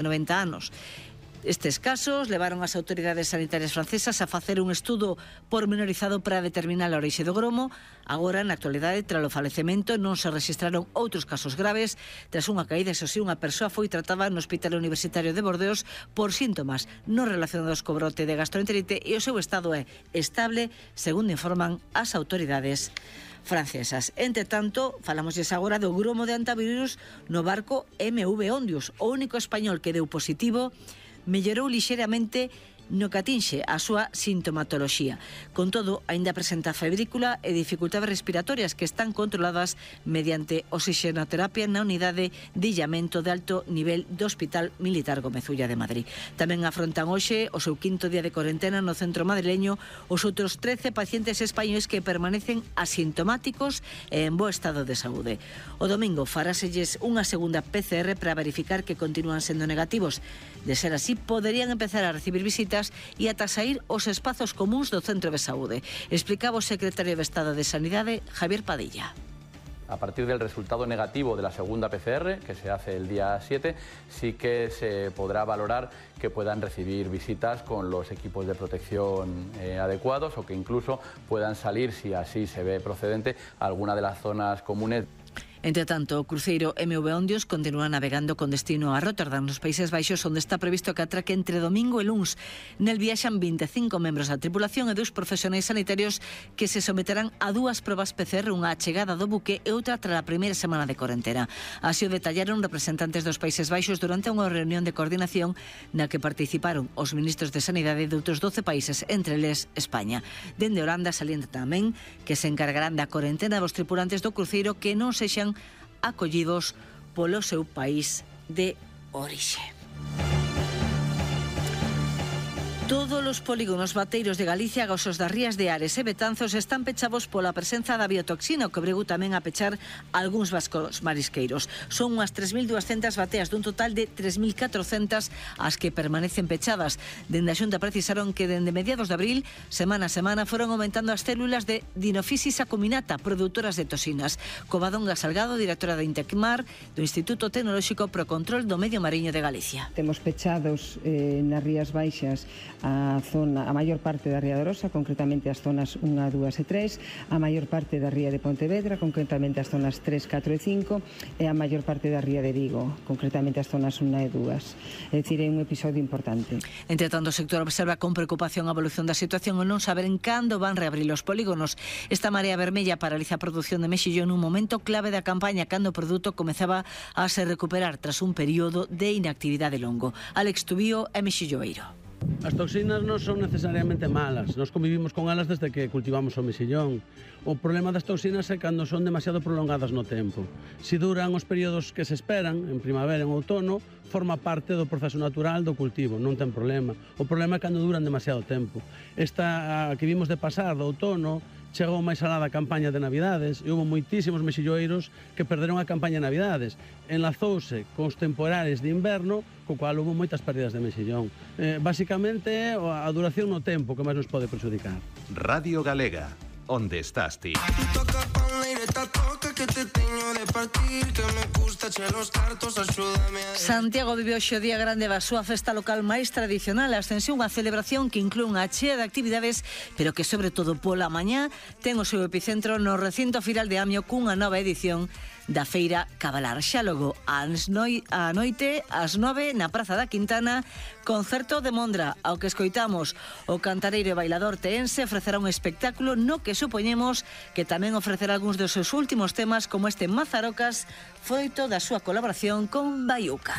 90 anos. Estes casos levaron as autoridades sanitarias francesas a facer un estudo pormenorizado para determinar a orixe do gromo. Agora, na actualidade, tras o falecemento, non se registraron outros casos graves. Tras unha caída, eso sí, unha persoa foi tratada no Hospital Universitario de Bordeos por síntomas non relacionados co brote de gastroenterite e o seu estado é estable, segundo informan as autoridades francesas. Entre tanto, falamosles agora do gromo de antivirus no barco MV Ondius. O único español que deu positivo mellorou lixeramente no que atinxe a súa sintomatoloxía. Con todo, aínda presenta febrícula e dificultades respiratorias que están controladas mediante oxigenoterapia na unidade de illamento de alto nivel do Hospital Militar Gómez Ulla de Madrid. Tamén afrontan hoxe o seu quinto día de corentena no centro madrileño os outros 13 pacientes españoles que permanecen asintomáticos e en bo estado de saúde. O domingo faráselles unha segunda PCR para verificar que continúan sendo negativos. De ser así, poderían empezar a recibir visitas e ata saír os espazos comuns do centro de saúde. Explicaba o secretario de Estado de Sanidade, Javier Padilla. A partir del resultado negativo de la segunda PCR, que se hace el día 7, sí que se podrá valorar que puedan recibir visitas con los equipos de protección adecuados o que incluso puedan salir, si así se ve procedente, a alguna de las zonas comunes. Entre tanto, o cruceiro MV Ondius continúa navegando con destino a Rotterdam, nos Países Baixos, onde está previsto que atraque entre domingo e luns. Nel viaxan 25 membros da tripulación e 2 profesionais sanitarios que se someterán a 2 probas PCR, unha á chegada do buque e outra tras a primeira semana de corentena. Así o detallaron representantes dos Países Baixos durante unha reunión de coordinación na que participaron os ministros de Sanidade de outros 12 países, entre eles España. Dende Holanda salienta tamén que se encargarán da corentena dos tripulantes do cruceiro que non sexan acollidos polo seu país de orixe. Todos os polígonos bateiros de Galicia, gasos das rías de Ares e Betanzos están pechados pola presenza da biotoxina, o que obrigou tamén a pechar algúns vascos marisqueiros. Son unhas 3.200 bateas dun total de 3.400 as que permanecen pechadas. Dende a Xunta precisaron que dende mediados de abril, semana a semana, foron aumentando as células de Dinophysis acuminata, produtoras de toxinas. Covadonga Salgado, directora de Intecmar, do Instituto Tecnolóxico pro Control do Medio Mariño de Galicia. Temos pechados nas Rías Baixas a maior parte da Ría de Arosa, concretamente as zonas 1, 2 e 3, a maior parte da Ría de Pontevedra, concretamente as zonas 3, 4 e 5, e a maior parte da Ría de Vigo, concretamente as zonas 1 e 2. É dicir, é un episodio importante. Entre tanto, o sector observa con preocupación a evolución da situación e non saben cando van reabrir os polígonos. Esta marea vermella paraliza a produción de mexillón nun momento clave da campaña, cando o produto comezaba a se recuperar tras un período de inactividade longo. Alex Tubío é mexilloeiro. As toxinas non son necesariamente malas, nós convivimos con elas desde que cultivamos o mexillón. O problema das toxinas é cando son demasiado prolongadas no tempo. Se duran os períodos que se esperan, en primavera e en outono, forma parte do proceso natural do cultivo, non ten problema. O problema é cando duran demasiado tempo. Esta que vimos de pasar do outono, chegou máis alá da campaña de Navidades e houve moitísimos mexilloeiros que perderon a campaña de Navidades. Enlazouse cos temporales de inverno, co cual houve moitas pérdidas de mexillón. Basicamente é a duración no tempo que máis nos pode perjudicar. Radio Galega, onde estás ti? Santiago vive hoxe o día grande da súa festa local máis tradicional, a Ascensión, unha celebración que inclúe unha chea de actividades, pero que sobre todo pola mañá ten o seu epicentro no recinto Firal de Amio cunha nova edición da Feira Cabalar. Xa logo a noite, ás 9, na Praza da Quintana, concerto de Mondra, ao que escoitamos o cantareiro e bailador teense ofrecerá un espectáculo no que supoñemos que tamén ofrecerá algúns dos seus últimos temas, como este Mazarocas, froito da súa colaboración con Baiuca.